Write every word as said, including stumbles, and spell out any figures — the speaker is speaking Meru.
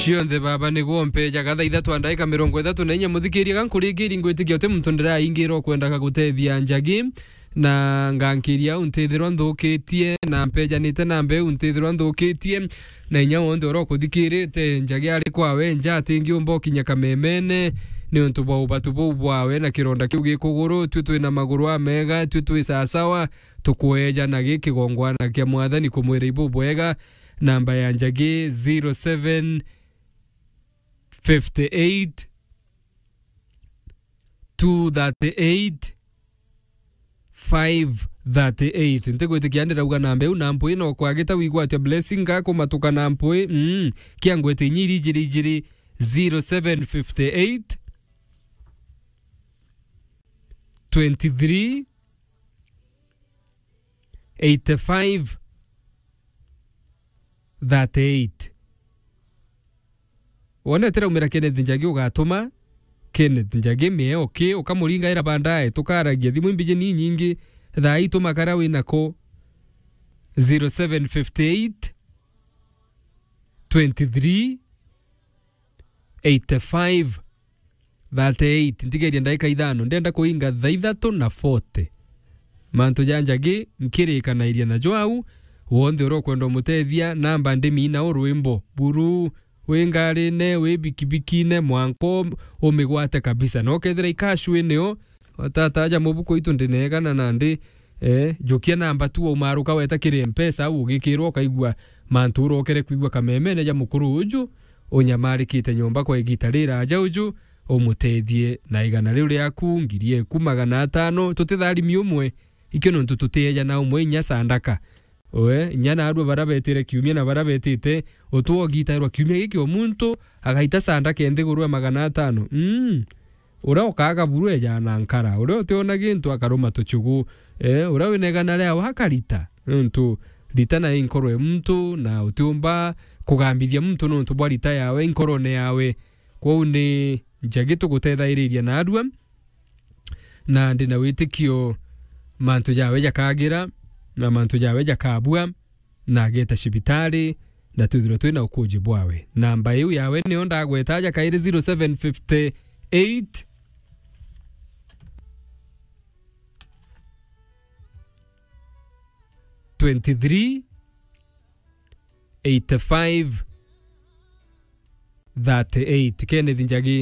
Cionthe baba niguo mpejaga thaa ithatu na ndaika mirongo ithatu na inya. Muthikiria, ga nkuringiri, ngwitikia uti muntu ndiraingira ukwendaga gutethia Njagi, na ngankiria au ntithirwa nthukitie, na mpejanite na mbeu ntithirwa nthukitie, na inya wonthe uria ukuthikirite Njagi ari kwawe nja atingiumba ukinya kamemene, ni untu bwa ubatu buu bwawe na kironda kiu gi kuguru. Tui twina maguru amega, tui twi sasawa, tukweja na gi kigongwana kia Mwathani kumwira ibubwega. Namba ya Njagi zero seven fifty eight, two thirty eight, five thirty eight. Ntigwitikia ndirauga namba iu na mpwi, no kwagita wigwatia blessing gakumatuka na mpwi. Mm. Kia ngwete inya iri ijiri ijiri, zero seven fifty eight, twenty three, eighty five, thirty eight. Wonete raumira Kenneth Njagi, ugatuma Kenneth Njagi mieo ki, ukamuringaira baadaye, tukaragia thimu imbiji ni nyingi. Thaa ii tuma karia wina ko, zero seven fifty eight, twenty three, eighty five, thirty eight. Ntigeria ndaika ithano, ndenda kuinga thaa ithatu na forty. Mantu ja Njagi nkirikanairia najo au, wonthe uria ukwenda umutethia, namba ndimina u rwimbo buru, wi ngarine, wi bikibikine, mwanka um-, umigwate kabisa. Na ukethira ikashwini o, watata aja mubuku itu ndinegana nandi, eh, jukia namba tu waumaruka weta kiri Mpesa, au ugikirwa ukaigua mantu urokere kwigua kamemene ja mukuru uju unyamarikite nyomba kwa igita riraja uju, umutethie na igana riu riaku, ngiri eku magana atano, tutitharimi umwe, ikio nontu tutiejana umwe inya sandaka. Oe, inya naarua baria betire kiumia na baria betite, utwo ugitairwa kiumia giki o muntu agaita sandaka nthiguru ya magana atano. Mm. Uria ukaaga buru ejaga na nkara, uria utiona gintu akaruma tuchugu, eh, uria wina igana riawe akarita, nontu rita nayo i nkoro ya muntu, na utiumba kugambithia muntu nontu bwa rita yawe i nkorone yawe. Kwou ni Njagi tugutethairiria naarua, na ndi na witikio mantu jawe jakagira, na mantu jawe jakabua, na ageta cibitari, na twithirwe twina ukuji bwawe. Namba iu yawe niyo ndagweta aja kairi, zero seven fifty eight, twenty three, eighty five, thirty eight. Kenneth Njagi,